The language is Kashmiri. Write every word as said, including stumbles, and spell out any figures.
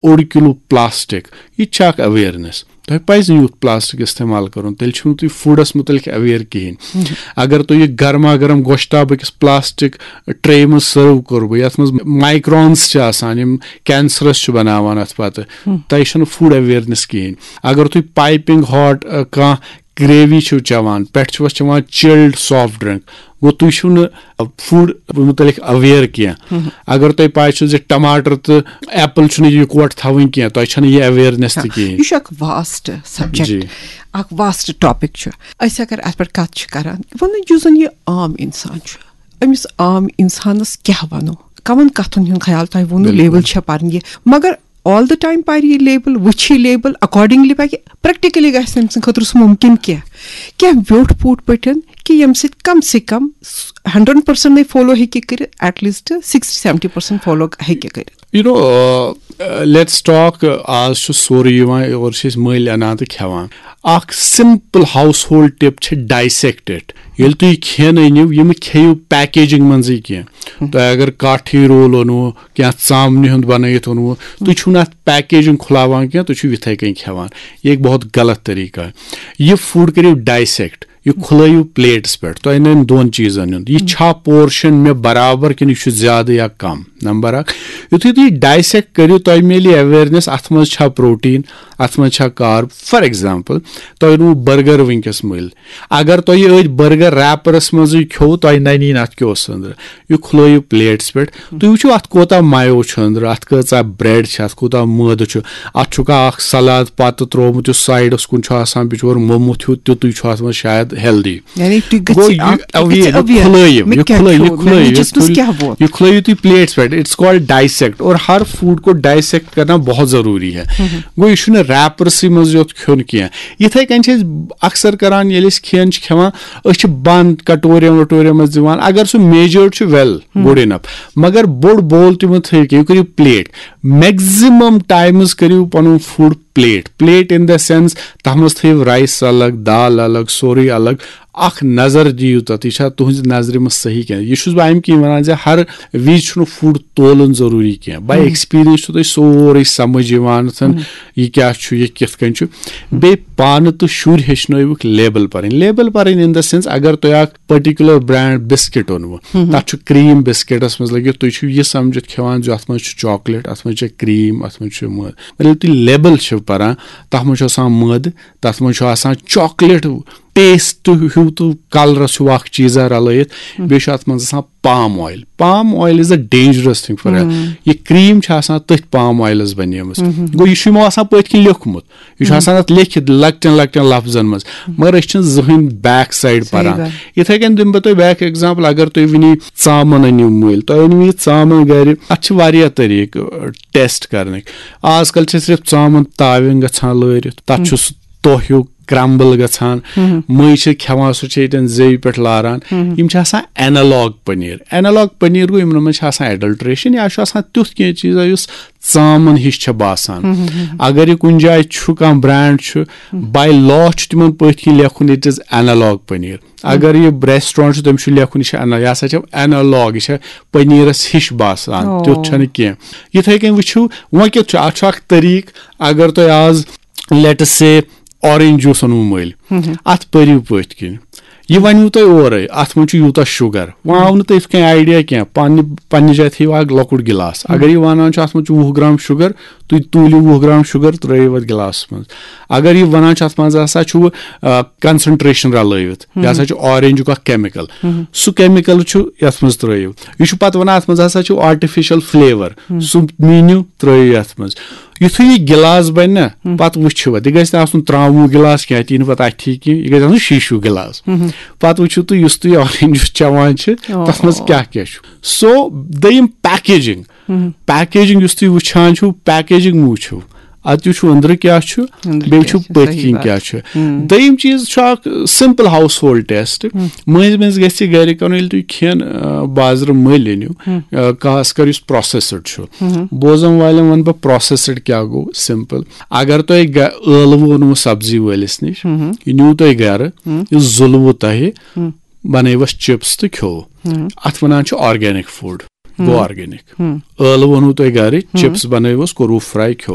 اوٚڑ کِلوٗ پلاسٹک، یہِ تہِ چھِ اکھ awareness۔ تۄہہِ پزِ نہٕ یُتھ پلاسٹک استعمال کرُن، تیٚلہِ چھِو نہٕ تُہۍ فوڈس مُتعلق aware کِہیٖنۍ۔ اگر تُہۍ یہِ گرما گرم گۄشتاب أکِس پلاسٹک ٹرے منٛز سرو کوٚروٕ، یتھ منٛز مایکرونز چھِ آسان، یِم کینسرس چھِ بناوان اتھ پتہٕ، تۄہہِ چھَنہٕ فوڈ awareness کِہیٖنۍ۔ اگر تُہۍ پایپنگ ہاٹ کانٛہہ گریوی چھِو چٮ۪وان، پٮ۪ٹھ چھِو چٮ۪وان چِلڈ سافٹ ڈرنک، گوٚو تُہۍ چھِو نہٕ فوڈ مُتعلق aware کینٛہہ۔ اگر تۄہہِ پاے چھو زِ ٹماٹر تہٕ ایپل چھُنہٕ یِکوٹہٕ تھاوٕنۍ کینٛہہ، تۄہہِ چھَنہٕ یہِ awareness تہِ کِہیٖنۍ۔ یہِ چھُ اکھ واسٹ سبجیکٹ، جی۔ اکھ واسٹ ٹاپک چھُ۔ أسۍ اگر اتھ پٮ۪ٹھ کتھ چھِ کران، وۄنۍ یُس زن یہِ عام انسان چھُ، أمِس عام انسانس کیٛاہ ونو؟ کمن کتھن ہُنٛد خیال؟ تۄہہِ ووٚنوٕ بِلکُل۔ لیبل چھےٚ پرنہِ، مگر all the time پرِ یہِ لیبل، وٕچھِ یہِ لیبل، accordingly پکہِ، practically گژھِ تٔمۍ سٕنٛدِ خٲطرٕ سُہ مُمکِن کینٛہہ، کینٛہہ ویوٚٹھ پوٗٹھ پٲٹھۍ، کہِ ییٚمہِ سۭتۍ کم سے کم ہنڈریڈ پرسنٹ نَے فالو ہیٚکہِ کٔرِتھ، at least sixty seventy percent follow ہیٚکہِ کٔرِتھ۔ You know, uh, let's talk, uh, آز چھُ سورُے یِوان، اورٕ چھِ أسۍ مٔلۍ اَنان تہٕ کھٮ۪وان۔ اکھ simple household tip چھِ dissect it۔ ییٚلہِ تُہۍ کھٮ۪ن أنِو، یِم کھیٚیِو packaging منٛزٕے کینٛہہ۔ تۄہہِ اگر کاٹھی رول اوٚنوُ، کینٛہہ ژامنہِ ہُنٛد بنٲیِتھ اوٚنوُ، تُہۍ چھِو نہٕ اَتھ packaging کھُلاوان کینٛہہ، تُہۍ چھِو یِتھَے کٔنۍ کھٮ۪وان۔ یہِ ہیٚکہِ بہت غلط طریٖقہ۔ یہِ فوڈ کٔرِو dissect۔ یہِ کھُلٲیِو پلیٹس پٮ۪ٹھ، تۄہہِ نَنہِ دۄن چیٖزن ہُنٛد، یہِ چھا پورشن مےٚ برابر کِنہٕ یہِ چھُ زیادٕ یا کم؟ نمبر اکھ، یُتھُے تُہۍ dissect کٔرِو، تۄہہِ میلہِ awareness، اتھ منٛز چھا پروٹین، اتھ منٛز چھا کارب۔ For example، تۄہہِ اوٚنوُ برگر وٕنکیٚس مٔلۍ، اگر تۄہہِ یہِ أتھۍ برگر ریپرس منٛزٕے کھیوٚو، تۄہہِ نَنی نہٕ اتھ کیٛاہ اوس أنٛدرٕ۔ یہِ کھُلٲیِو پلیٹس پٮ۪ٹھ، تُہۍ وٕچھِو اتھ کوٗتاہ مایو چھُ أنٛدرٕ، اتھ کۭژاہ bread چھِ، اتھ کوٗتاہ مٲدٕ چھُ، اتھ چھُکھا اکھ سلاد پتہٕ ترٛوومُت یُس سایڈس کُن چھُ آسان، بِچور موٚمُت ہیوٗ تیُتُے چھُ اتھ منٛز شاید healthy۔ یعنی تُہۍ گوٚو گٔژھِو یہِ، اکھ، تُہۍ اَوٕ یہِ، گٔژھِو یہِ aware، کھُلٲیِو، مےٚ یہِ کیٛاہ کھُلٲیِو، یہِ کھیوٚو، کھُلٲیِو، میٛانہِ یہِ جسمس کھُلٲیِو، کیٛاہ ووت؟ یہِ کھُلٲیِو تُہۍ پلیٹس پٮ۪ٹھ۔ It's called dissect۔ اور ہر فوڈ کو dissect کرنا بہت ضروری ہے۔ گوٚو یہِ چھُنہٕ ریپرسٕے منٛز یوت کھیوٚن کینٛہہ۔ یِتھَے کٔنۍ چھِ أسۍ اکثر کران، ییٚلہِ أسۍ کھٮ۪ن چھِ کھٮ۪وان، أسۍ چھِ بنٛد کٹورٮ۪ن وٹورٮ۪ن منٛز دِوان۔ اگر سُہ measured چھُ، well، good enough، مگر بوٚڑ bowl تہِ مہٕ تھٲیِو کینٛہہ، یہِ کٔرِو پلیٹ۔ Maximum times کٔرِو پنُن food plate. Plate in the sense، تَتھ منٛز تھٲیِو رایس الگ، دال الگ، سورُے الگ۔ اکھ نظر دِیِو تَتھ، یہِ چھا تُہنٛزِ نظرِ منٛز صحیح کینٛہہ۔ یہِ چھُس بہٕ اَمہِ کِنۍ وَنان زِ ہر وِزِ چھُنہٕ فوڈ تولُن ضروٗری کینٛہہ۔ By experience چھُو تۄہہِ سورُے سمجھ یِوان، یہِ کیٛاہ چھُ، یہِ کِتھ کٔنۍ چھُ۔ بیٚیہِ پانہٕ تہٕ شُرۍ ہیٚچھنٲیوُکھ لیبل پَرٕنۍ۔ لیبل پَرٕنۍ in the sense، اگر تۄہہِ اکھ particular brand biscuit اوٚنوُ، تَتھ چھُ cream biscuitس منٛز لٔگِتھ، تُہۍ چھِو یہِ سمجھِتھ کھٮ۪وان زِ اَتھ منٛز چھُ chocolate، اَتھ منٛز چھِ cream، اَتھ منٛز چھُ مٲدٕ۔ ییٚلہِ تُہۍ لیبل چھِو پَران، تَتھ منٛز چھُ آسان مٲدٕ، تَتھ منٛز چھُ آسان chocolate taste ہیوٗ تہٕ کلرس ہیوٗ اکھ چیٖزا رلٲیِتھ، بیٚیہِ چھُ اَتھ منٛز آسان palm oil۔ Palm oil is a dangerous thing for health۔ یہِ cream چھِ آسان تٔتھۍ palm oilس بنیمٕژ۔ گوٚو، یہِ چھُ یِمو آسان پٔتھۍ کِنۍ لیوٚکھمُت، یہِ چھُ آسان اَتھ لیکھِتھ لۄکٹٮ۪ن لۄکٹٮ۪ن لفظن منٛز، مگر أسۍ چھِنہٕ زٕہٕنۍ back side پران۔ یِتھَے کٔنۍ دِمہٕ بہٕ تۄہہِ بیٛاکھ example۔ اگر تُہۍ وٕنی ژامَن أنِو مٔلۍ، تۄہہِ أنِو یہِ ژامَن گرِ، اَتھ چھِ واریاہ طریٖقہٕ test کرنٕکۍ۔ آز کل چھِ صرف ژامَن تاوٮ۪ن گژھان لٲرِتھ، تَتھ چھُ سُہ توٚہ ہیوٗ crumble گژھان، مٔنٛزۍ چھِ کھٮ۪وان، سُہ چھِ ییٚتٮ۪ن زیٚوِ پٮ۪ٹھ لاران۔ یِم چھِ آسان analog paneer۔ Analog paneer گوٚو، یِمن منٛز چھِ آسان adulteration یا چھُ آسان تیُتھ کینٛہہ چیٖزا یُس ژامَن ہِش چھےٚ باسان۔ اگر یہِ کُنہِ جایہِ چھُ، کانٛہہ brand چھُ، by law چھُ تِمن پٔتھۍ کِنۍ لیکھُن it is analog paneer۔ اگر یہِ restaurant چھُ، تٔمِس چھُ لیکھُن یہِ چھُ ana-، یہِ ہسا چھُ analog، یہِ چھےٚ پٔنیٖرس ہِش باسان، تیُتھ چھَنہٕ کینٛہہ۔ یِتھَے کٔنۍ وٕچھِو، وۄنۍ کیُتھ چھُ، اَتھ چھُ اکھ طریٖقہٕ، اگر تۄہہِ آز let us say orange juice اوٚنوُ مٔلۍ، اَتھ پٔرِو پٔتھۍ کِنۍ۔ یہِ وَنِوُ تۄہہِ اورَے، اَتھ منٛز چھُ یوٗتاہ sugar۔ وۄنۍ آو نہٕ تۄہہِ یِتھ کٔنۍ idea کینٛہہ، پنٛنہِ، پنٛنہِ جایہِ تھٲیِو اَکھ لۄکُٹ گِلاس۔ اگر یہِ وَنان چھُ، اَتھ منٛز چھُ وُہ گرٛام sugar، تُہۍ تُلِو وُہ گرٛام sugar، ترٛٲیِو اَتھ گِلاسَس منٛز۔ اگر یہِ وَنان چھُ، اَتھ منٛز ہسا چھُ، آ، concentration رَلٲوِتھ، یہِ ہسا چھُ orangeُک اَکھ chemical، سُہ chemical چھُ یَتھ منٛز ترٛٲیِو۔ یہِ چھُ پَتہٕ وَنان، اَتھ منٛز ہسا چھُ artificial flavour، سُہ میٖنِو ترٛٲیِو یَتھ منٛز۔ یُتھُے یہِ گِلاس بَنہِ نہ، پَتہٕ وٕچھِو اَتھ، یہِ گژھِ نہٕ آسُن ترٛاموٗ گِلاس کینٛہہ، اَتھ یی نہٕ پَتہٕ اَتھِ کینٛہہ، یہِ گژھِ آسُن شیٖشوٗ گِلاس۔ پَتہٕ وٕچھِو تُہۍ، یُس تُہۍ orange juice چٮ۪وان چھِ، تَتھ منٛز کیٛاہ کیٛاہ چھُ۔ So، دوٚیِم packaging۔ Packaging یُس تُہۍ وٕچھان چھِو، packaging مہٕ وٕچھِو، اَتہِ وٕچھِو أنٛدرٕ کیٛاہ چھُ، بیٚیہِ وٕچھِو پٔتھۍ کِنۍ کیٛاہ چھُ۔ دوٚیِم چیٖز چھُ اکھ simple household test۔ مٔنٛزۍ مٔنٛزۍ گژھِ گرِ کرُن، ییٚلہِ تُہۍ کھٮ۪ن، آ، بازرٕ مٔلۍ أنِو، آ، خاص کر یُس processed چھُ۔ بوزن والٮ۪ن وَنہٕ بہٕ processed کیٛاہ گوٚو، simple۔ اگر تۄہہِ گہ-، ٲلوٕ اوٚنوُ سبزی وٲلِس نِش، یہِ نیوٗ تۄہہِ گرٕ، یہِ زُلوُ تۄہہِ، بنٲیوس chips تہٕ کھیوٚو۔ اَتھ وَنان چھِ organic food۔ گوٚو organic۔ ٲلوٕ اوٚنوُ تۄہہِ گرِ، chips بنٲیوس، کوٚروُ fry، کھیوٚو۔